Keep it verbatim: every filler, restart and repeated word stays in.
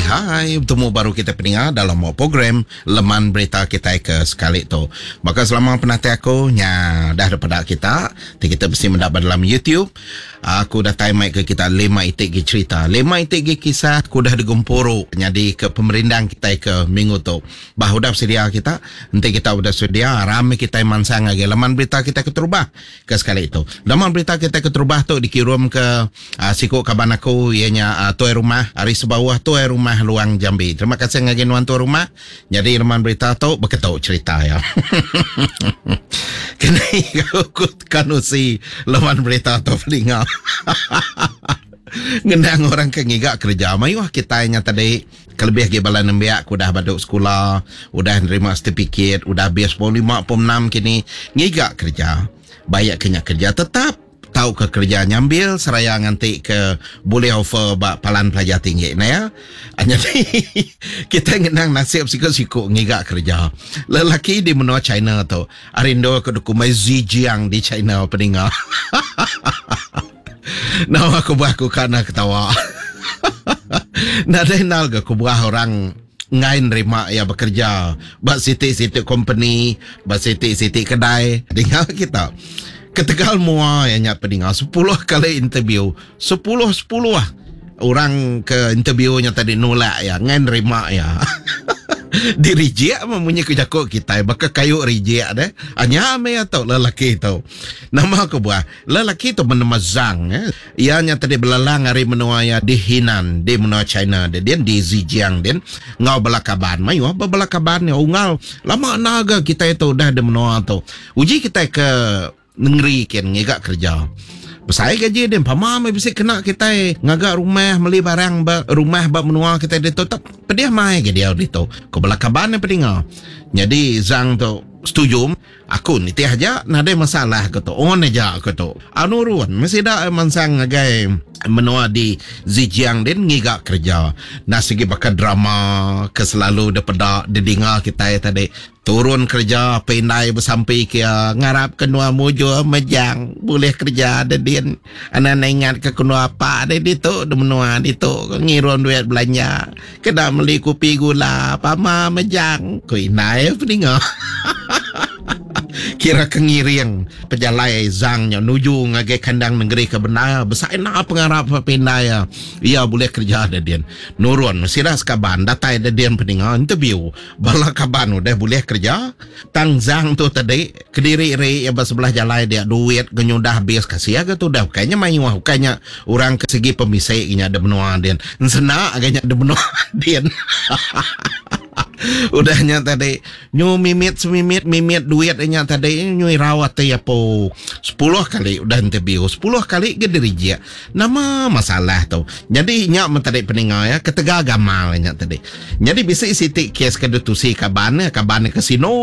Hai, betemu baru kita peninga dalam program Leman Berita kita ke sekali tu. Maka selama penati aku nya dah daripada kita, kita mesti mendapat dalam YouTube. Aku datai mai ke kita lima itik gi cerita, lima itik gi kisah aku dah digempuru jadi ke pemerindang kita ke minggu tu. Bah udah sedia kita, nanti kita udah sedia rame kita mansang lagi laman berita kita ke terubah ke sekali itu. Laman berita kita ke terubah tu dikirim ke uh, siku kaban aku ianya uh, tuai rumah hari sebawah tuai rumah Luang Jambi. Terima kasih ngagi nuan tuai rumah. Jadi laman berita tu beketuk cerita ya. Kena aku kanusi laman berita tu peninga. Ngendang orang ke ngiga kerja mayuh kita nya tadi kelebih gi bala nembiak ku udah baduk sekolah, udah nerima sertifikat, udah habis pom lima pom enam kini ngiga kerja. Bayak kena kerja tetap tau ke kerja nyambil seraya nganti ke boleh offer bak palan pelajar tinggi nah ya. Jadi kita ngenang nasib siku-siku ngiga kerja. Lelaki di menua China tu arindo ke dokumen Zhejiang di China peninga. Nama aku buah aku kana ketawa. Nadai nal ke aku buah orang ngai nerima ya bekerja bak siti-siti company, bak siti-siti kedai. Dengar kita. Ketegal mua yang nyak peninga sepuluh kali interview, sepuluh sepuluh orang ke interviewnya tadi nolak ya, ngai nerima ya. Dirijik memunyi ke jakuk kita baka kayu rijik deh. Anya me atau lelaki tu. Nama aku buah lelaki tu menema Zhang eh. Ia nya tadi belalang hari menua ya di Henan, di menua China dia, dia di Zhejiang dia ngau belakaban. Mayu apa belakaban ya ungal lama naga kita itu dah di menua tu. Uji kita ke negeri ken ngigak kerja. Besai gaji dia pama mai bisi kena kita ngagak rumah beli barang ba rumah ba menua kita dia tu tak pedih mai ke dia ditu. Ko belakaban yang pedinga. Jadi Zhang tu setuju aku ni tiah aja nadai masalah ke tu. On aja ke tu. Anurun mesti dak mansang ngagai menua di Zhejiang din ngigak kerja. Nah segi bakal drama ke selalu depedak didengar kita tadi. Turun kerja pindai bersampi kia ngarap kenua mujur mejang boleh kerja ada din anak ingat ke kenua apa ada di tu di menua di tu ngirum duit belanja kena beli kopi gula pama mejang ku inai peninga. Kira kengiring pejalai Zhang nya nuju ngagai kandang negeri ke benar besar nak pengarap pindai ya. Ia boleh kerja ada din nurun sila sekaban datai ada din peninga interview bala kaban udah boleh kerja tang Zhang tu tadi kediri ri ya sebelah jalai dia duit genyudah habis kasih aga tu dah kayaknya mayuh kayaknya orang ke segi pemisik nya ada menua din senak agaknya ada menua din. Udahnya tadi nyu mimit semimit mimit duit nya tadi nyu rawat ya po sepuluh kali udah interview sepuluh kali ke dirijik. Nama masalah tu. Jadi nya tadi peninga ya ketegal gamal nya tadi. Jadi bisi siti kes ke dutusi kaban ya kaban ke sino